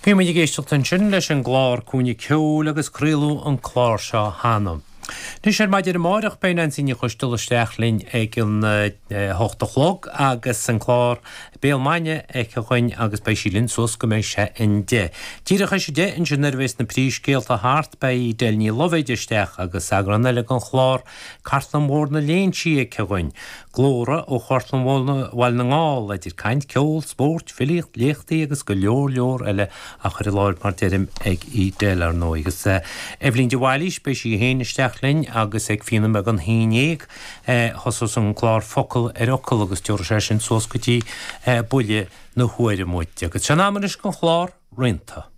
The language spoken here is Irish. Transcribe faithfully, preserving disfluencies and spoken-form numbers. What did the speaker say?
Bhí muid ag éisteacht ansin leis an gclár Cúinne Ceoil agus craoladh an clár seo cheana. Anois ar maidin amárach beidh Neansaí Ní Choisteala isteach linn ag an hocht a chlog agus an clár Béal Maidine aici againn agus beidh sí linn suas go mbeidh sé an deich. Díreach théis a deich ansin nuair a bheas na príomhscéalta thart beidh Edel Ní Loibhéid isteach agus eagrán eile den chlár Cartlann Mhór na Léinsí aici againn. Glórtha ó Chartlann Bhaile na nGall, idir caint, ceol, spórt, filíocht, léachtaí agus go leor leor eile á chur i láthair mar deirim ag Edel ar ndóigh. Agus Eibhlín de Bhailís, beidh sí féin isteach linn agus ag fiche nóiméad don haon déag thosós an clár Focal ar Fhocal agus tiúrfaidh sé sin suas go dtí buille na huaire muid. Agus sin am anois don chlár Rianta.